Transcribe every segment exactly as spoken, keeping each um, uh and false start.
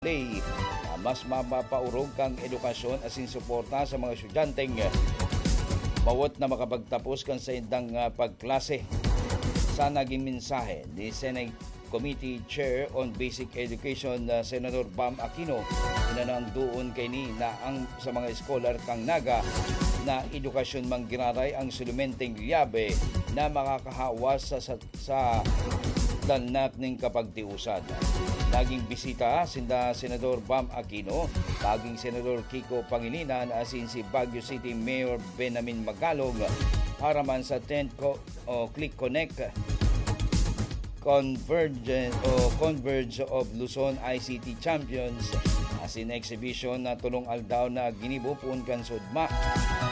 play, ah, mas mapapaurog kang edukasyon asin suporta sa mga estudyanteng bawat na makapagtapos kan saindang, ah, pagklase. Sa naging mensahe ni Senate Committee Chair on Basic Education, ah, Senador Bam Aquino, inanang doon kaini na ang sa mga eskolar kan Naga na edukasyon manggiraray ang sulumenteng liyabe na makakahawas sa, sa sa danlak nin kapagtiusan. Naging bisita sinda Senador Bam Aquino, naging Senador Kiko Pangilinan asin si Baguio City Mayor Benamin Magalong para man sa tenth Co-, o Click Connect Convergence o Converge of Luzon I C T Champions asin exhibition na tulong aldaw na ginibo poon kan sugma.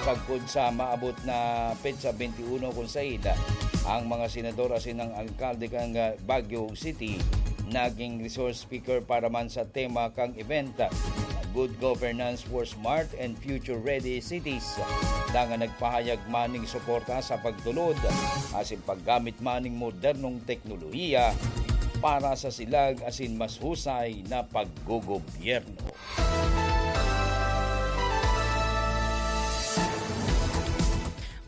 Sagkod sa maabot na petsa twenty-one kun saen, ang mga senador asin ang alkalde kan, ah, Baguio City naging resource speaker para man sa tema kan event, Good Governance for Smart and Future Ready Cities. Dangan nagpahayag man ning suporta sa pagtulod asin paggamit man ning modernong teknolohiya para sa silag asin mas husay na paggogobyerno.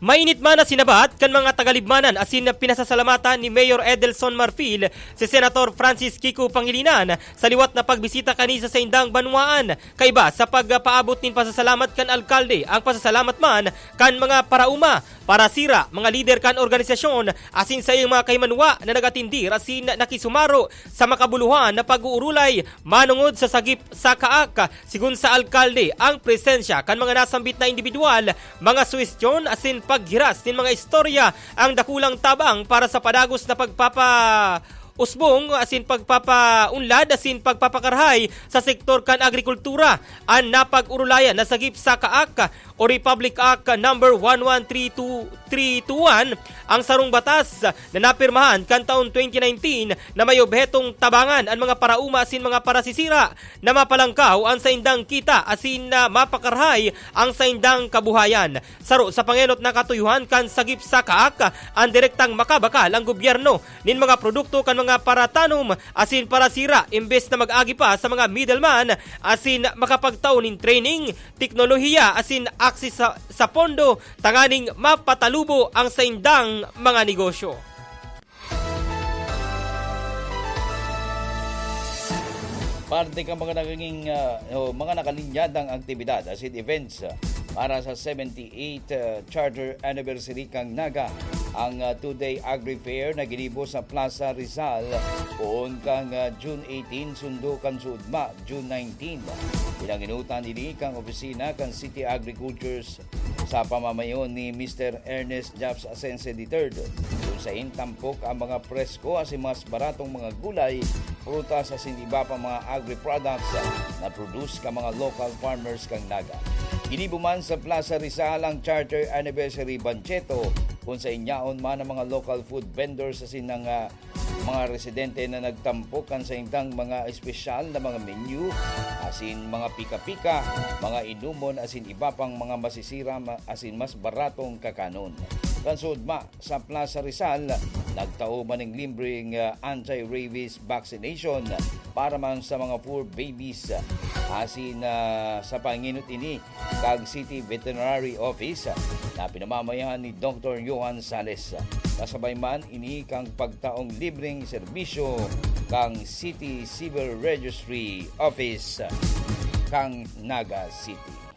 Mainit man na sinabat kan mga tagalibmanan asin pinasasalamatan ni Mayor Edelson Marfil si Senator Francis Kiko Pangilinan sa liwat na pagbisita kani sa saindang banwaan. Kaiba sa pagpaabot nin pasasalamat kan alkalde, ang pasasalamat man kan mga paraoma, parasira, mga lider kan organisasyon, asin saiyang mga kahimanwa na nag-atindir asin nakisumaro sa makabuluhan na pag-uurulay manongod sa sagip sa kaak. Sigon sa alkalde, ang presensya kan mga nasambit na indibidwal, mga suhestyon asin paghiras nin mga istorya ang dakulang tabang para sa padagos na pagpapa- usbong asin pagpapaunlad asin pagpapakarahay sa sektor kan agrikultura. An napag-urulayan na sagip sa kaak o Republic Act number one one three two three two one, ang sarong batas na napirmahan kan taon twenty nineteen na may obhetong tabangan an mga paraoma asin mga parasisira na mapalangkaw an saindang kita asin na mapakarahay ang saindang kabuhayan. Saro sa pangenot na katuyuhan kan sagip sa kaak, ang direktang makabakal ang gobyerno nin mga produkto kan mga paratanom asin parasira, imbes na mag-agi pa sa mga middleman asin makapagtao nin training, teknolohiya asin akses sa, sa pondo tanganing mapatalubo ang saindang mga negosyo. Parte kan mga nagiging, ah, o mga nakalinyadang aktibidad asin events, ah, para sa seventy-eighth, ah, Charter Anniversary kan Naga, ang, ah, two-day Agri Fair na ginibo sa Plaza Rizal, poon kan, ah, June eighteen, sundo kan sugma, June nineteen. Pinanginutan ini kan opisina kan City Agriculture's sa pamamayo ni Mister Ernest Japs Asense the third, kun saen tampok ang mga presko asin mas baratong mga gulay, prutas asin iba pang mga agri-products na produce kan mga local farmers kan Naga. Ginibo man sa Plaza Rizal ang Charter Anniversary Banchetto, kun saen yaon man ang mga local food vendors asin ang, ah, mga residente na nagtampok kan saindang mga espesyal na mga menu, asin mga pika-pika, mga inumon asin iba pang mga masisira ma-, asin mas baratong kakanon. Kan sugma, sa Plaza Rizal, nagtao man ning libreng, ah, anti-rabies vaccination para man sa mga poor babies. Asin, ah, sa pangenot ini, kag City Veterinary Office na pinamamayan ni Doktor Johan Sales. Kasabay man ini kan pagtaong libreng serbisyo kan City Civil Registry Office kan Naga City.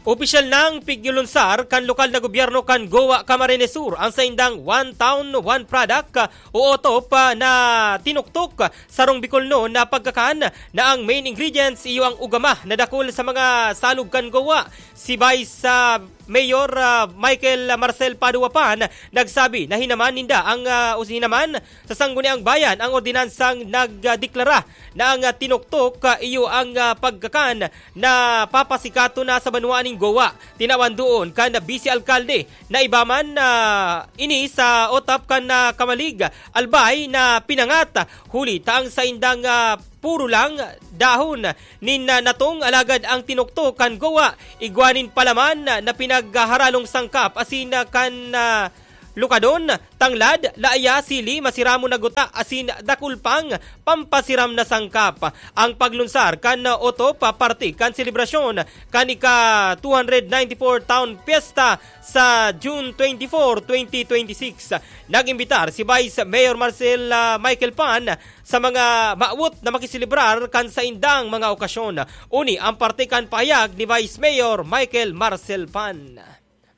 Opisyal nang pigyulunsar kan lokal na gobyerno kan Goa, Camarines Sur, ang saindang One Town, One Product o OTOP, ah, na tinuktok. Sarong Bicolnon na pagkakan na ang main ingredients iyo ang ugama na dakul sa mga salog kan Goa. Si Vice, ah, Mayor, ah, Michael Marcel Padua pa nagsabi na hinaman ninda ang, ah, o hinaman sa Sangguniang Bayan ang ordinansang nagdeklara na ang, ah, tinuktok, ah, iyo ang, ah, pagkakan na papasikaton na sa banwaan nin Goa. Tinawan doon kan Vice Alkalde na iba man, ah, ini sa OTOP kan, ah, Camalig, Albay na pinangat, huli ta ang saindang, ah, puro lang dahon nin, ah, natong, alagad ang tinuktok kan Goa, igwa nin palaman na, na pinagharalong sangkap asin, ah, kan, ah, Plukadon, tanglad, laya, sili, masiramon na guta, asin dakul pang pampasiram na sangkap. Ang paglunsar kan otop parte kan selebrasyon kan ika two hundred ninety-four Town Fiesta sa June twenty-four, twenty twenty-six. Nag-imbitar si Vice Mayor Marcel, ah, Michael Pan sa mga maawot na makiselebrar kan saindang mga okasyon. Uni ang parte kan pahayag ni Vice Mayor Michael Marcel Pan.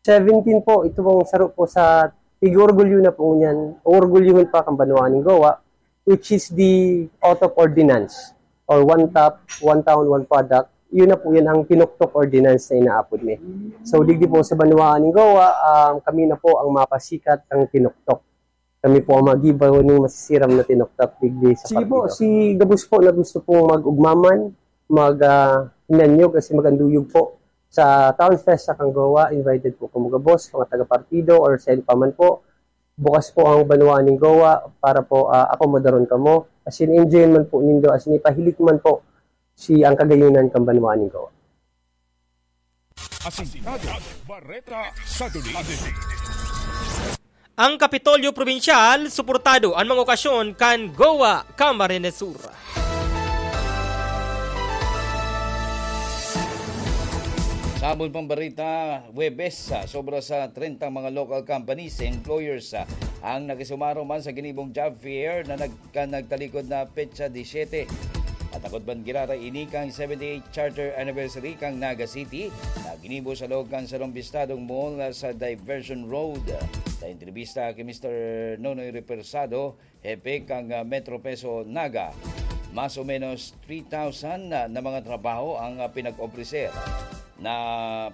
Seventeen po, ito pong saro po sa tig-orgulyo na po niyan, orgulyohon pa kan banwaan nin Goa, which is the O T O P ordinance or One Top, One Town, One Product. Yun na po yan ang tinuktok ordinance na inaapod mi. So, digdi po sa banwaan nin Goa, um, kami na po ang mapasikat ang tinuktok. Kami po ang magibaw ning masisiram na tinuktok digdi sa Sige po, partido. Si gabos po na gusto pong mag-ugmaman, mag, ah, hinanyog, kasi mag-anduyog po sa Town Fest sa Kanggawa, invited po kamo gabos, mga taga-partido or send pa man po. Bukas po ang banwaan ning Goa para po, ah, akomodaron kamo. As in, enjoy man po nindo, as in, ipahilik man po si ang kagayunan kan banwaan ning Goa. Asintado, Bareta sa Duli. Ang Kapitolyo Probinsyal, suportado an mga okasyon kan Goa Camarines Sur. Sabon pang barita, Huwebes, sa sobra sa treinta mga local companies, employers, ah, ang nakisumaro man sa ginibong job fair na nag-, kan nagtalikod na petsa disiyete. At takot man girara ini kan seventy-eight Charter Anniversary kan Naga City na ginibo sa loob kan sarong bistadong mall sa Diversion Road. Sa entrevista ki Mister Nonoy Repersado, hepe kan, ah, Metro Peso Naga, mas o menos three thousand na, na mga trabaho ang, ah, pinag-opreser na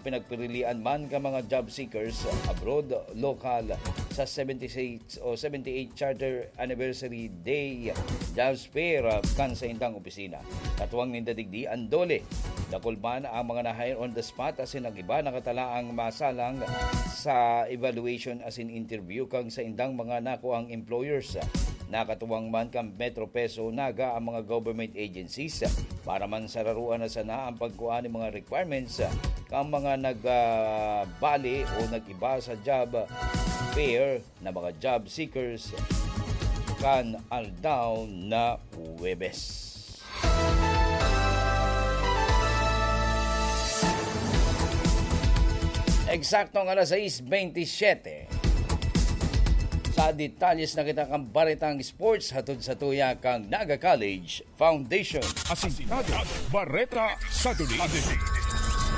pinagpirilian man kan mga job seekers abroad, lokal, sa seventy-six o seventy-eight Charter Anniversary Day Jobs Fair, ah, kan saindang opisina. Katuwang ninda digdi an DOLE. Dakul man ang mga na-hire on the spot asin ang iba nakatalaang masalang sa evaluation asin interview kan saindang mga nakuang employers. Nakatuwang man kan Metro Peso Naga ang mga government agencies para man sararoan na sana ang pagkuha nin mga requirements kan mga nag, ah, bali o nag-iba sa job fair na mga job seekers kan aldaw na Huwebes. Eksaktong alas sais bentisiete. Sa detalles na kita kan baretang sports, hatod sa tuya kan Naga College Foundation. Asintado, Bareta sa Duli.